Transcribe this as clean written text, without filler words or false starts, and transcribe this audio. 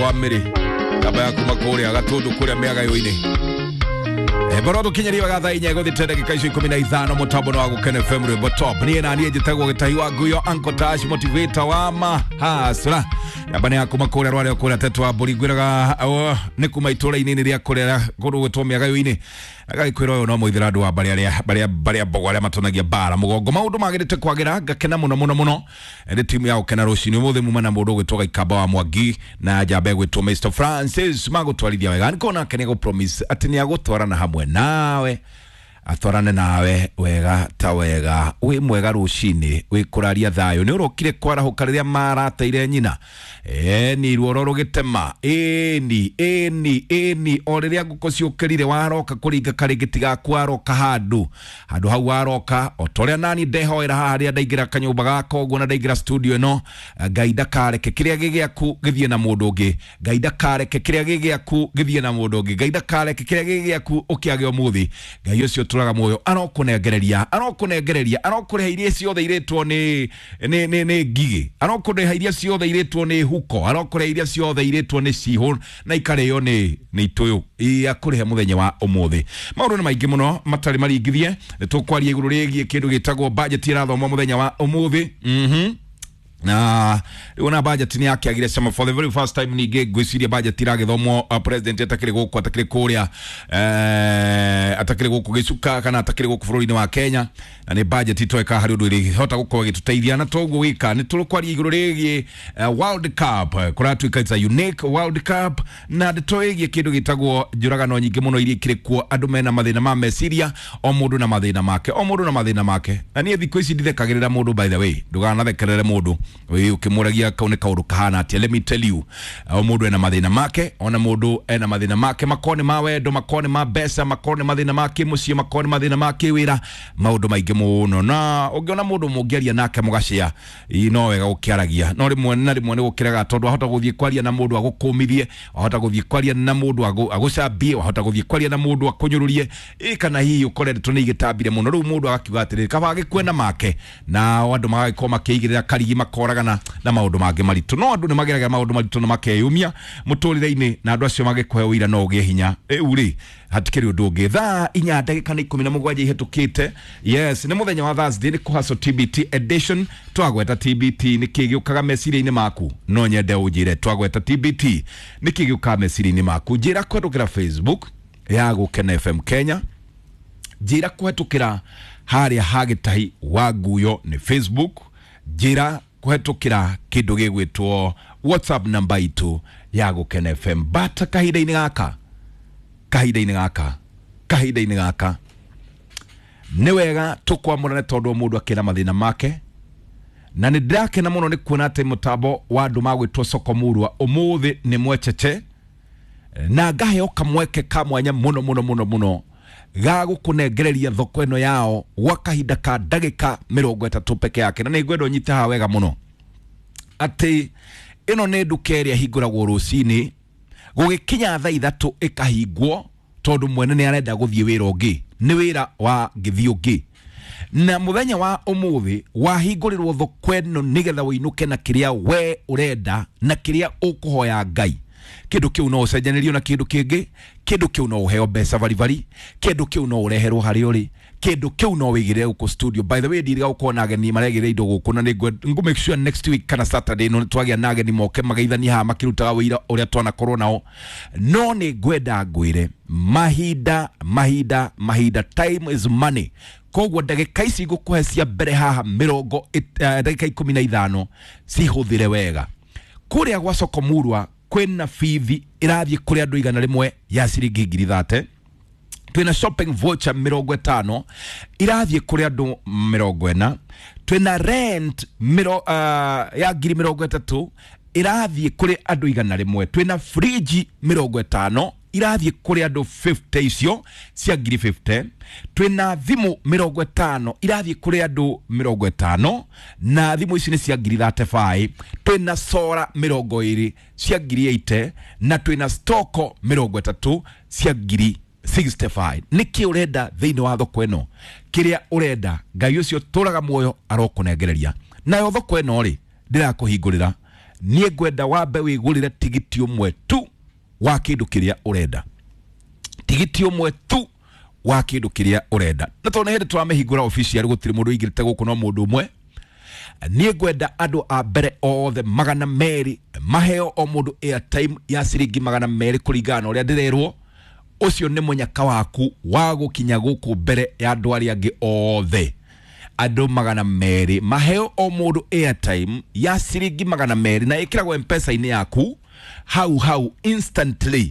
Mũgongo wa mĩrĩ namba ya kuma kũrĩa Gatũndũ kũrĩa mĩagayo-inĩ. Baro tũkinyerio wega thaa 4 gũthiĩ ndagĩka icio 15 mũtambo wa Gũkena FM rwĩmbo top. Niĩ na niĩ njĩtagwo Gĩtahi wa Nguyo, Uncle Tash, motivator wa mahasra. Namba nĩ ya kuma kũrĩa rwarĩa kũrĩa Teto wa Mbũri, ngwĩraga nĩ kuma itũũra-inĩ rĩa kũrĩa kũndũ gwĩtwo mĩagayo-inĩ. Agagĩkwĩra ũyũ no mũithĩra andũ wa mbarĩ arĩa barĩa barĩa mbogo arĩa matonagia mbara mũgongo. Maũndũ magĩrĩte kwagĩra, ngakena mũno mũno mũno. Nĩ timu ya gũkena rũcinĩ ũmũthĩ muma na mũndũ ũgwĩtwo Gaikamba wa Mwangi na njamba ĩgwĩtwo Mr Francis magũtwarithia wega. Nĩkona ake nĩ promise atĩ nĩ agũtwarana hamwe nawe, atwarane nawe wega ta wega. Wĩ mwega rũcinĩ, wĩ kũraria thayũ, nĩ ũrokire kwarahũka rĩrĩa marateire nyina. Ĩni ruoro rũgĩtema, ĩni ĩni ĩni, o rĩrĩa ngũkũ ciũkĩrire waroka kũringa karĩngĩ tigaku, waroka handũ handũ hau waroka o ta ũrĩa nani ndehoera haha rĩrĩa ndaingĩra kanyũmba gaka ũguo na ndaingĩra studio ĩno. Ngai ndakareke kĩrĩa gĩ gĩaku gĩthiĩ na mũndũ ũngĩ, Ngai ndakareke kĩrĩa gĩ gĩaku gĩthiĩ na mũndũ ũngĩ, Ngai ndakareke kĩrĩa gĩ gĩaku ũkĩage ũmũthĩ. Ngai ũcio ũtũraga muoyo arokũnengereria, arokũnengereria, arokũrĩha iria ciothe irĩtwo nĩ nĩ nĩ nĩ ngigĩ, arokũrĩha iria ciothe irĩtwo nĩ huko, arokũrĩha iria ciothe irĩtwo nĩ cihũ na ikarĩo nĩ itũyũ. Akũrĩhe mũthenya wa ũmũthĩ. Maũndũ nĩ maingĩ mũno matarĩ maringithie. Nĩ tũkwaria igũrũ rĩgiĩ kĩndũ gĩtagwo budget ĩrathomwo mũthenya wa ũmũthĩ. Na rĩu na budget nĩ yakĩagire cama for the very first time. Ningĩ ngwĩciria budget iragĩthomwo president atakĩrĩ gũkũ, atakĩrĩ kũrĩa, atakĩrĩ gũkũ gĩcuka kana atakĩrĩ gũkũ bũrũri-inĩ wa Kenya, na nĩ budget itoeka harĩ ũndũ ĩrĩhota gũkorwo ĩgĩtũteithia. Na toguo wĩka nĩ tũrũkwaria igũrũ rĩgiĩ World Cup. Kũratuĩka it's a unique World Cup, na ndeto ĩgiĩ kĩndũ gĩtagwo njũragano nyingĩ mũno iria ikĩrĩ kuo. Andũ mena mathĩna ma meciria, o mũndũ na mathĩna make, o mũndũ na mathĩna make. Na niĩ thikũ ici ndithekagĩrĩra mũndũ. By the way, ndũganathekerere mũndũ ũkĩmũragia kau nĩ kaũndũ kahana atĩa. Let me tell you, o mũndũ ena mathĩna make, ona mũndũ ena mathĩna make, makorwo nĩ ma wendo, makorwo nĩ ma mbeca, makorwo nĩ mathĩna ma kĩmũciĩ, makorwo nĩ mathĩna ma kĩwĩra, maũndũ maingĩ mũno. Na ũngĩona mũndũ mũngĩaria nake mũgacĩa, no wega gũkĩaragia, no rĩmwe na rĩmwe nĩ gũkĩrega, tondũ wahota gũthiĩ kwaria na mũndũ agũkũmithie, wahota gũthiĩ kwaria na mũndũ agũcambie, wahota gũthiĩ kwaria na mũndũ akũnyũrũrie, kana hihi ũkore ndeto nĩ igĩtambire mũno, rĩu mũndũ agakiuga atĩrĩrĩ, kaba agĩkue na make. Na andũ magagĩkorwo makĩigĩrĩra karigi, makoragana na maũndũ mangĩ maritũ. No andũ nĩ mageragĩra maũndũ maritũ na makeyumia mũtũrĩre-inĩ, na andũ acio magĩkũhe ũira no ũgĩe hinya. Rĩu rĩ, hatikĩrĩ ũndũ ũngĩ. Thaa 4 ndagĩka nĩ 17 ihĩtũkĩte. Yes, nĩ mũthenya wa Thursday, nĩ kũhaco TBT edition. Twagweta TBT nĩ kĩ gĩũkaga meciria-inĩ maku? No nyende ũnjĩre, twagweta TBT nĩ kĩ gĩũkaga meciria-inĩ maku? Njĩra kũhetũkĩra Facebook ya Gũkena FM Kenya, njĩra kũhetũkĩra harĩa ha Gĩtahi wa Nguyo nĩ Facebook, njĩra kũhetũkĩra kĩndũ gĩgwĩtwo WhatsApp namba itũ ya Gũkena FM. But kahinda-inĩ gaka, kahinda-inĩ gaka, kahinda-inĩ gaka nĩ wega tũkwamũrane, tondũ o mũndũ akĩna mathĩna make. Na nĩ ndĩrakena mũno nĩ kuona atĩ mũtambo wa andũ magwĩtwo Soko Murwa ũmũthĩ nĩ mwechece, na ngaheo kamweke ka mwanya mũno mũno mũno mũno ga gũkũnengereria thoko ĩno yao gwa kahinda ka ndagĩka 30 peke yake. Na nĩ ngwenda ũnyite haha wega mũno atĩ ĩno nĩ nduka ĩrĩa ĩhingũragwo rũcinĩ gũgĩkinya thaa 3 ĩkahingwo, tondũ mwene nĩ arenda gũthiĩ wĩra ũngĩ, nĩ wĩra wa ngĩthiĩ ũngĩ. Na mũthenya wa ũmũthĩ wahingũrĩrwo thoko ĩno nĩgetha ũinũke na kĩrĩa we ũrenda na kĩrĩa ũkũhoya Ngai. Kĩndũ kĩu no ũcenjanĩrio na kĩndũ kĩngĩ, kĩndũ kĩu no ũheo mbeca baribari, kĩndũ kĩu no ũreherwo harĩa ũrĩ, kĩndũ kĩu no wĩigĩrĩre gũkũ studio. By the way, ndirĩga gũkorwo na ageni maregĩrĩra indo gũkũ, na nĩ ngũ make sure next week kana Saturday no twagĩa na ageni moke mageithanie haha makĩrutaga wĩira ũrĩa twanakorwo nao. No nĩ ngwenda ngwĩre, mahinda mahinda mahinda, time is money. Koguo ndagĩka ici ngũkũhe cia mbere haha mĩrongo ndagĩka 15 cihũthĩre wega. Kũrĩa gwa Soko Murwa kwĩna bithi ĩrathiĩ kũrĩ andũ 100 ya ciringi 30,000. Twĩna shopping voucher 50 irathiĩ kũrĩ andũ 40. Twĩna rent ya 30,000 irathiĩ kũrĩ andũ 100. Twĩna fridge 50 irathiĩ kũrĩ andũ 50, icio cia 50,000. Twĩna thimũ 50 irathiĩ kũrĩ andũ 50, na thimũ ici nĩ cia 35,000. Twĩna sora 20 cia 80,000, na twĩna stoko 30 cia 65,000. Nĩkĩ ũrenda thĩinĩ wa thoko ĩno? Kĩrĩa ũrenda, Ngai ũcio tũraga muoyo arokũnengereria. Nayo thoko ĩno rĩ, ndĩrakũhingũrĩra Niĩ ngwenda wambe wĩgũrĩre tigiti ũmwe tu wa kĩndũ kĩrĩa ũrenda, tigiti ũmwe tu wa kĩndũ kĩrĩa ũrenda. Na tondũ nĩ hĩndĩ tũramĩhingũra official, gũtirĩ mũndũ ũingĩrĩte gũkũ no mũndũ ũmwe. Niĩ ngwenda andũ a mbere othe 200 maheo o mũndũ airtime ya ciringi 200 kũringana na ũrĩa ndĩrerwo. Ũcio nĩ mũnyaka waku wa gũkinya gũkũ mbere ya andũ arĩa angĩ othe. Andũ 200 maheo o mũndũ airtime ya ciringi 200, na ĩkĩragwo mpesa-inĩ yaku hau hau instantly.